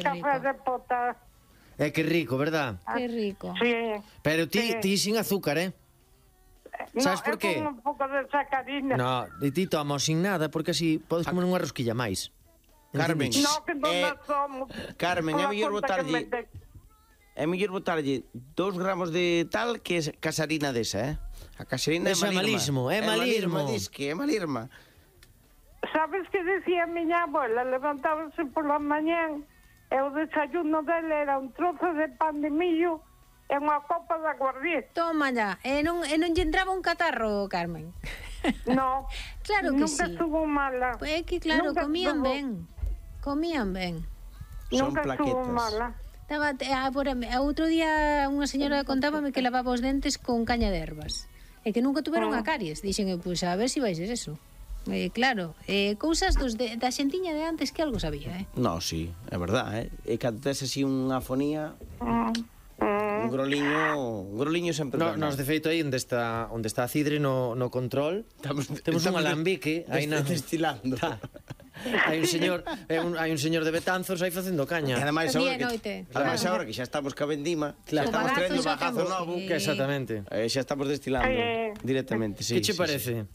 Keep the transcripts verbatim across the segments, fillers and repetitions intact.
café de pota. É que rico, verdad? Que rico. Sí. Pero ti, Sí. ti sin azúcar, eh? Sabes no, por qué? No, é con un pouco de sacarina. No, e ti tomas sin nada, porque así podes comer unha rosquilla máis. Carmen. Entendiches? No, que non Eh, eh, somos. Carmen, é Pola mellor conta que botarlle- me te- É mellor botarlle dous gramos de tal que es casarina desa, eh? A casarina Eso é é malirma. malismo, é malismo. Dis que é malirma. Sabes que decía a miña abuela? Levantábase pola mañán e o desayuno dele era un trozo de pan de millo e unha copa de aguardiente. Toma ya. E non, e non lle entraba un catarro, Carmen? No, Claro que nunca sí. estuvo mala. Pues é que claro, Nunca comían estuvo- ben. Comían ben. Son Nunca estuvo plaquetas. mala. Estaba, a, por, a outro día unha señora contábame que lavaba os dentes con caña de ervas e que nunca tuveron a caries. Dixen, pois pues, a ver se si vai ser eso. Eh, claro, eh, cousas dos de, da xentiña de antes que algo sabía, eh? No, sí, é verdad, eh? E cando tes así unha fonía, Mm, mm. un groliño, un groliño sempre No, ben. nos de feito aí onde está onde está a Cidre no, no control. Estamos- Temos un estamos alambique aí na destilando. Hai un señor, é un, hai un señor de Betanzos aí facendo E caña. ademais Día agora e noite. que, ademais agora que xa estamos ca vendima, Claro. xa estamos O bagazo traendo xa bagazo temos, novo, sí. Que exactamente. eh, xa estamos destilando Eh, directamente, sí. que che sí, parece?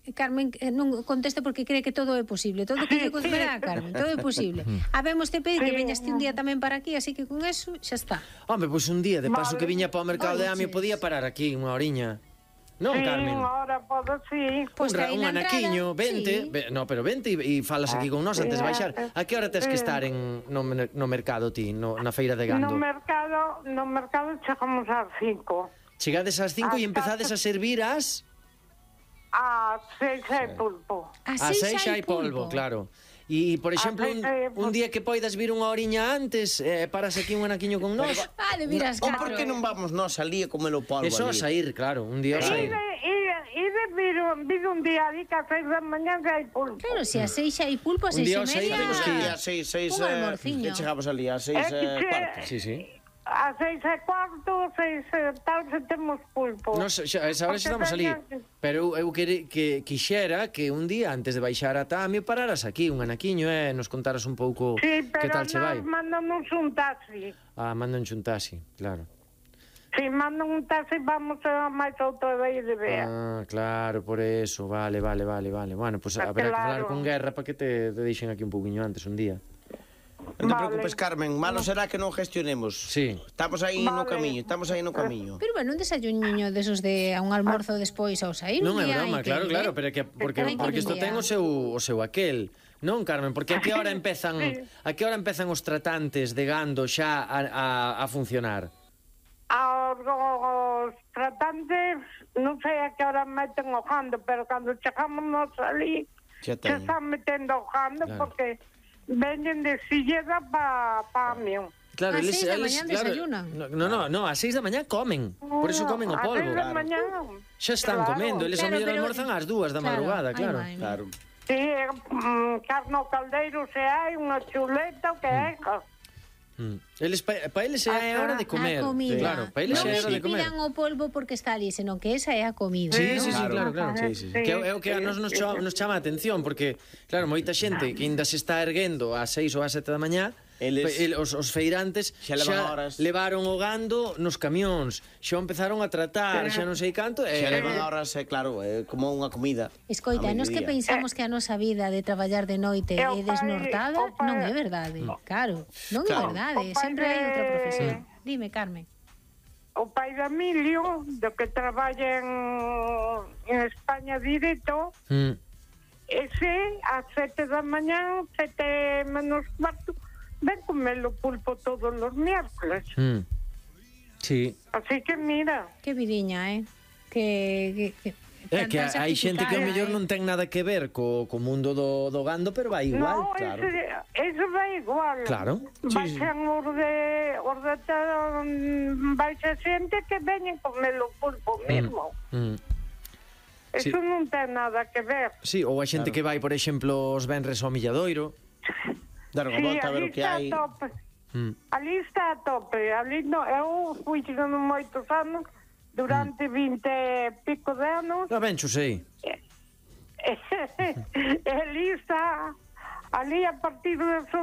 E Carmen eh, non conteste porque cree que todo é posible. Todo que lle contará, Carmen, todo é posible. Habemos te pedir que veñas ti un día tamén para aquí, así que con eso xa está. Home, pois un día, de paso Vale. que viña para o mercado de Amio, Oiches. podía parar aquí unha oriña. Non, Sí, Carmen? ahora podo, sí. Pois un, ra- aí un na anaquiño, entrada, vente, sí. ve, no, pero vente e, e falas aquí con nós antes de baixar. A que hora tes que estar en no, mer- no mercado ti, no, na feira de No gando? mercado, no mercado chegamos ás cinco. Chegades ás cinco e Ás empezades a servir as Ás seis é pulpo. A ás seis seis xa hai polvo, claro. E, por exemplo, un, seis hai un polvo. día que poidas vir unha oriña antes, eh, paras aquí un anaquiño con nós. Ah, de miras O catro. por que non vamos nós ali a comer o polvo E só a ali? sair, claro, un día a sair. Ide, ide, ide vir, un- vir un día ali que a seis da mañá que hai pulpo. Claro, se a seis xa hai pulpo, a Un seis día e os seis media... temos que ir. A seis, seis, Un eh, almorciño. que chegamos ali a seis É que eh, che- cuarto. Sí, sí. A seis e cuarto, seis e tal, se temos pulpo. Nos, xa, esa hora xa estamos Porque ali. teña- Pero eu, eu que, que quixera que un día antes de baixar a Tamio pararas aquí, un anaquiño, e eh, nos contaras un pouco Sí, que pero tal che vai. nos mandanos un taxi. Ah, mandan un taxi, claro. Si mandan un taxi, vamos a máis outra vez de ver. Ah, claro, por eso, vale, vale, vale, vale. Bueno, pues Ah, habrá que falar claro. con Guerra para que te, te deixen aquí un pouquiño antes, un día. Non te Vale. preocupes, Carmen, malo será que non gestionemos. Sí. Estamos aí no Vale. camiño, estamos aí no camiño. Pero bueno, un desayuniño desos de a un almorzo despois ao sair. Non un é día broma, hai que claro, ir, claro, eh? pero que porque Hai que porque ir isto un ten día. o seu o seu aquel. Non, Carmen, porque a que hora empezan a que hora empezan os tratantes de gando xa a, a, a funcionar? Aos os tratantes, non sei a que hora meten o jando, pero cando chegamos nos ali, Xa se ten. están metendo o jando, Claro. porque veñen de Silleda pa, pa Amión. Claro, Ás eles, seis da eles, mañá claro, desayunan. No, no, no, no, ás seis da mañá comen. Por eso comen o A polvo. seis da mañá. Xa están Claro. comendo, eles a Claro, mellor pero- almorzan ás dúas da Claro, madrugada, ai, claro. vai, vai. Claro. Sí, mm, carne ao caldeiro se hai, unha chuleta, o que é. Mm. Eles pa, pa eles é a hora de comer. A comida. Claro, pa eles non é a é hora de que comer. pidan o polvo porque está ali, senón que esa é a comida. Sí, non? sí, sí, claro, Claro. claro. Sí, sí, sí. Que é o que a nos, nos, chama, nos chama a atención, porque, claro, moita xente que ainda se está erguendo ás seis ou ás sete da mañá, Eles- pe- el, os, os feirantes Xa levan horas. levaron o gando nos camións, xa o empezaron a tratar, xa non sei canto, e Xa levan horas, é claro, é como unha comida. Escoita, a nos que mediodía. pensamos que a nosa vida de traballar de noite E é o pai- desnortada, o pai- non é verdade. Claro, non é Claro. verdade, O pai sempre hai outra de- profesión. Dime, Carmen. O pai de Emilio, do que traballa en, en España directo, Mm. ese ás sete da mañá, sete menos cuarto, ven comer o pulpo todos os miércoles. Mm. Sí. Así que mira, Que vidiña, eh? Que, que, que É que tanta hai xente que ao sacrificada, mellor eh? non ten nada que ver co, co mundo do, do gando, pero vai igual, no, claro. ese, ese vai igual. Claro, sí, sí. Baixan os de, os de mm, baixa xente que veñen comer o pulpo mesmo. Mm. Eso Sí. non ten nada que ver. Sí, ou a xente Claro. que vai, por exemplo, os venres ao Milladoiro. Dar unha Sí, volta a ver ali o que está hai. a tope. Mm. Ali está a tope. Ali no, eu fui chegando moitos anos, durante vinte e pico de anos, Ah, ben, xo sei. e ali está Ali a partir das once